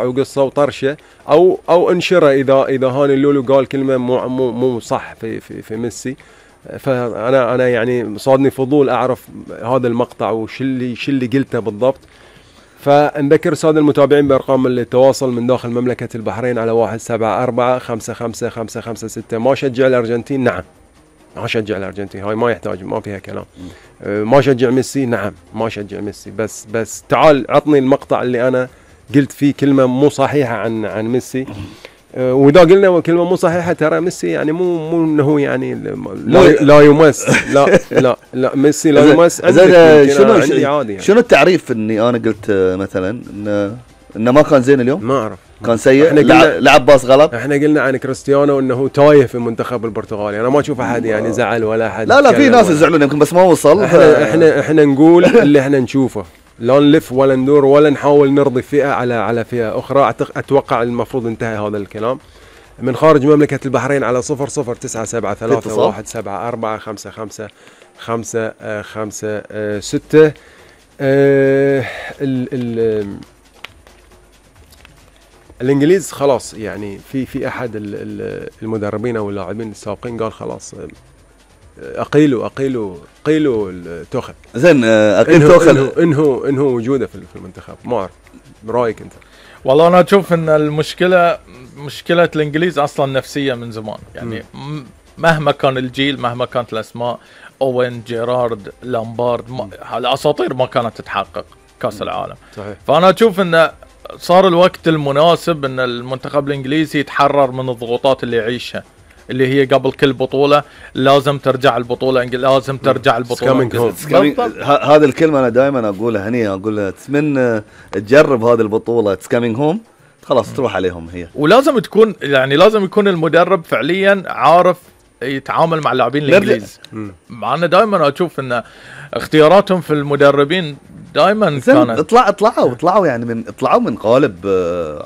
وقصة وطرشة أو انشره إذا هاني اللولو قال كلمة مو صح في ميسي. فأنا يعني صادني فضول أعرف هذا المقطع وش اللي قلته بالضبط. فنذكر السادة المتابعين بأرقام التواصل من داخل مملكة البحرين على 174-55-556. ما شجع الأرجنتين؟ نعم ما شجع الأرجنتين، هاي ما يحتاج، ما فيها كلام. ما شجع ميسي؟ نعم ما شجع ميسي. بس تعال عطني المقطع اللي أنا قلت فيه كلمة مو صحيحة عن ميسي. وإذا قلنا كلمة مو صحيحة ترى ميسي يعني مو إنه يعني لا يمس لا ميسي لا يمس. شنو التعريف إني أنا قلت مثلا إنه ما كان زين اليوم؟ ما أعرف، كان سيء، لعب باص غلط. احنا قلنا عن كريستيانو انه تايه في المنتخب البرتغالي. انا ما اشوف احد يعني زعل ولا احد. لا في ناس يزعلون يمكن بس ما وصل. احنا نقول اللي احنا نشوفه، لا نلف ولا ندور ولا نحاول نرضي فئة على فئة اخرى. اتوقع المفروض انتهى هذا الكلام. من خارج مملكة البحرين على 009731755556. الانجليز خلاص يعني في احد المدربين او اللاعبين السابقين قال خلاص اقيلوا توخل. زين اقيل توخل انهو وجوده في المنتخب. ما اعرف برايك انت؟ والله انا اشوف ان مشكله الانجليز اصلا نفسيه من زمان يعني. مهما كان الجيل، مهما كانت الاسماء، اوين، جيرارد، لامبارد، الاساطير ما كانت تتحقق كاس العالم. صحيح. فانا اشوف ان صار الوقت المناسب ان المنتخب الانجليزي يتحرر من الضغوطات اللي يعيشها، اللي هي قبل كل بطولة لازم ترجع البطولة لازم ترجع البطولة. هذا الكلمة أنا دائما أقولها هني، أقولها من تجرب هذه البطولة it's coming home، خلاص تروح عليهم هي. ولازم تكون يعني لازم يكون المدرب فعليا عارف يتعامل مع اللاعبين الانجليز. مع أنه دائما أشوف أن اختياراتهم في المدربين دائما كانت اطلعوا يعني اطلعوا من قالب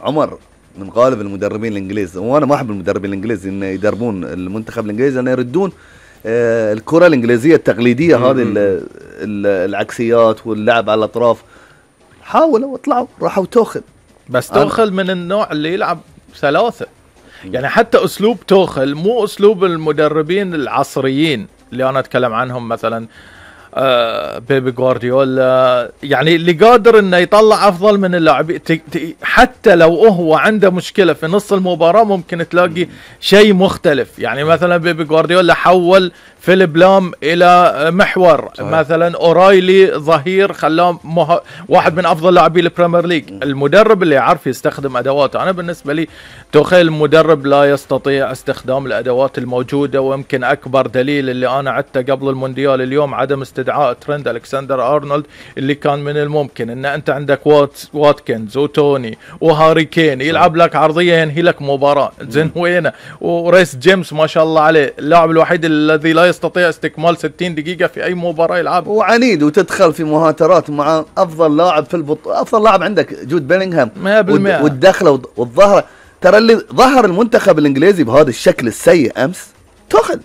عمر، من قالب المدربين الانجليز. وانا ما احب المدربين الانجليز ان يدربون المنتخب الانجليزي، ان يردون الكره الانجليزيه التقليديه هذه العكسيات واللعب على الاطراف. حاولوا واطلعوا راحوا توخل، بس توخل من النوع اللي يلعب ثلاثه يعني. حتى اسلوب توخل مو اسلوب المدربين العصريين اللي انا اتكلم عنهم، مثلا بيبي غوارديولا، يعني اللي قادر انه يطلع افضل من اللاعبين. حتى لو هو عنده مشكله في نص المباراه ممكن تلاقي شيء مختلف. يعني مثلا بيبي غوارديولا حول فيليب لام الى محور. صحيح. مثلا اورايلي ظهير خلاه واحد من افضل لاعبي البريمير ليج. المدرب اللي يعرف يستخدم ادواته. انا بالنسبه لي توخيل المدرب لا يستطيع استخدام الادوات الموجوده، ويمكن اكبر دليل اللي انا عدته قبل المونديال اليوم عدم استدعاء ترند ألكسندر أرنولد، اللي كان من الممكن ان انت عندك واتكنز وتوني وهاري كين يلعب لك عرضيه ينهي لك مباراه. زين وينه؟ وريس جيمس ما شاء الله عليه اللاعب الوحيد الذي لا يستطيع استكمال 60 دقيقه في اي مباراه يلعب، وعنيد، وتدخل في مهاترات مع افضل لاعب في البطوله. افضل لاعب عندك جود بيلينغهام 100%. والدخله والظهره. ترى اللي ظهر المنتخب الانجليزي بهذا الشكل السيء امس توخل.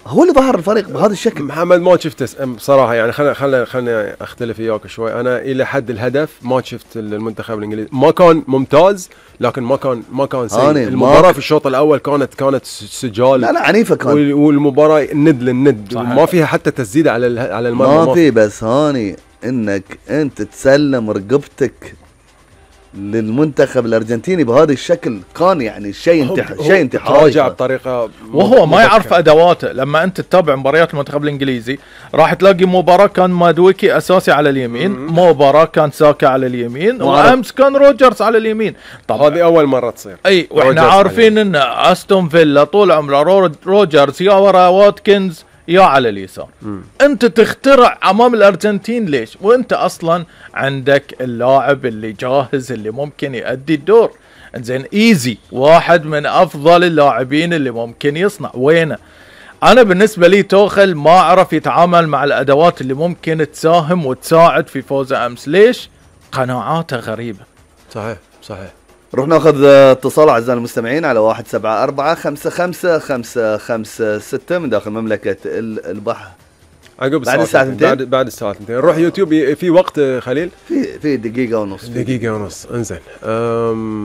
هو اللي ظهر الفريق بهذا الشكل. محمد ما شفته بصراحه يعني. خلينا اختلف وياك شوي. انا الى حد الهدف ما شفت المنتخب الانجليزي. ما كان ممتاز لكن ما كان سيء. المباراه في الشوط الاول كانت سجال. لا عنيفه كان. والمباراه ند للند، ما فيها حتى تسديده على المرمى. ما في. بس هاني انك انت تسلم رقبتك للمنتخب الارجنتيني بهذا الشكل كان يعني شيء انتحاري. تراجع بطريقه وهو ما يعرف ادواته. لما انت تتابع مباريات المنتخب الانجليزي راح تلاقي مباراه كان مادويكي اساسي على اليمين، مباراه كان ساكا على اليمين، وامس كان روجرز على اليمين. طبعا هذه اول مره تصير. اي واحنا عارفين ان استون فيلا طول عمره روجرز يا ورا واتكنز يا على اليسار. انت تخترع امام الارجنتين ليش وانت اصلا عندك اللاعب اللي جاهز اللي ممكن يؤدي الدور؟ زين ايزي واحد من افضل اللاعبين اللي ممكن يصنع، وينه؟ انا بالنسبه لي توخل ما عرف يتعامل مع الادوات اللي ممكن تساهم وتساعد في فوزه امس. ليش؟ قناعاته غريبه. صحيح. نروح ناخذ اتصال اعزائنا المستمعين على 174-55-556 من داخل مملكة البحر. عقب بعد الساعة 2 بعد الساعة 2 نروح يوتيوب في وقت خليل في دقيقة ونص دقيقة ونص انزين